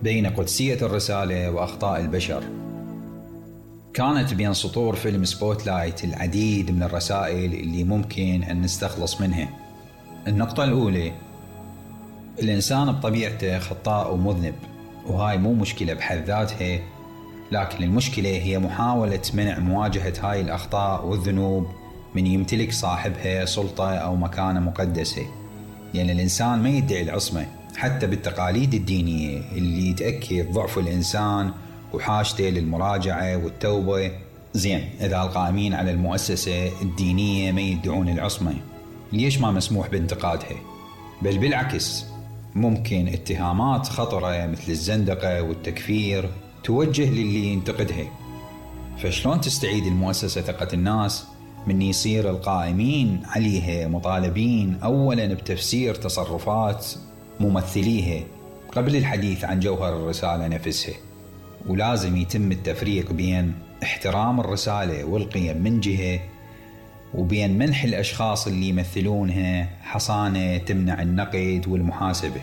بين قدسية الرسالة وأخطاء البشر. كانت بين سطور فيلم سبوتلايت العديد من الرسائل اللي ممكن أن نستخلص منها. النقطة الأولى: الإنسان بطبيعته خطاء ومذنب، وهاي مو مشكلة بحد ذاتها، لكن المشكلة هي محاولة منع مواجهة هاي الأخطاء والذنوب من يمتلك صاحبها سلطة أو مكانة مقدسة. لأن الإنسان ما يدعي العصمة حتى بالتقاليد الدينية اللي تأكد ضعف الإنسان وحاجته للمراجعة والتوبة. زين، إذا القائمين على المؤسسة الدينية ما يدعون العصمة، ليش ما مسموح بانتقادها؟ بل بالعكس، ممكن اتهامات خطرة مثل الزندقة والتكفير توجه للي ينتقدها. فشلون تستعيد المؤسسة ثقة الناس من يصير القائمين عليها مطالبين أولا بتفسير تصرفات ممثليها قبل الحديث عن جوهر الرسالة نفسها؟ ولازم يتم التفريق بين احترام الرسالة والقيم من جهة، وبين منح الأشخاص اللي يمثلونها حصانة تمنع النقد والمحاسبة.